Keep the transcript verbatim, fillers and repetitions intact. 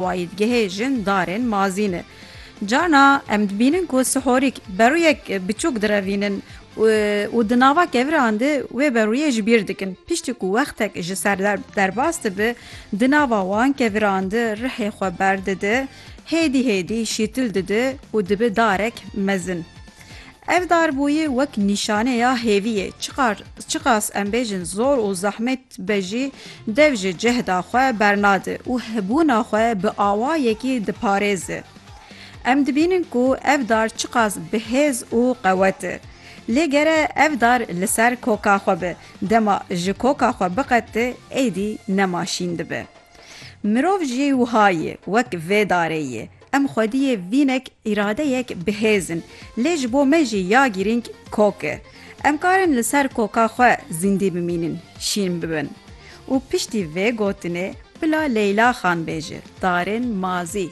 awayî digihêjin darên mazî ne. Carna em dibînin ku sihorîk berûyek biçûk direvînin û, û di nava keviran de wê berûyê ji bîr dikin. Piştî ku wextek ji ser der-, derbas dibe, di nava wan keviran de rihê xwe berdide, hêdî hêdî şîtil dide û dibe darek mezin. Ev darbûyî wek nîşaneya hêviyê, çiqar-, çiqas em bêjin zor û zehmet be jî, dev ji cihda xwe bernade û hebûna xwe bi awayekî diparêze. Em dibînin ku ev dar çiqas bi hêz û qewet e. Lê gere ev dar li ser koka xwe be, dema ji koka xwe biqete, êdî nema şîn dibe. Mirov jî wiha ye, wek vê darê ye. Em xwediyê vînek îradeyek bi hêz in, lê ji bo me jî ya girîng kok e. Em karin li ser koka xwe zîndî bimînin, şîn bibin. Û piştî vê gotinê bila Leyla Xan bêje, darên mazî.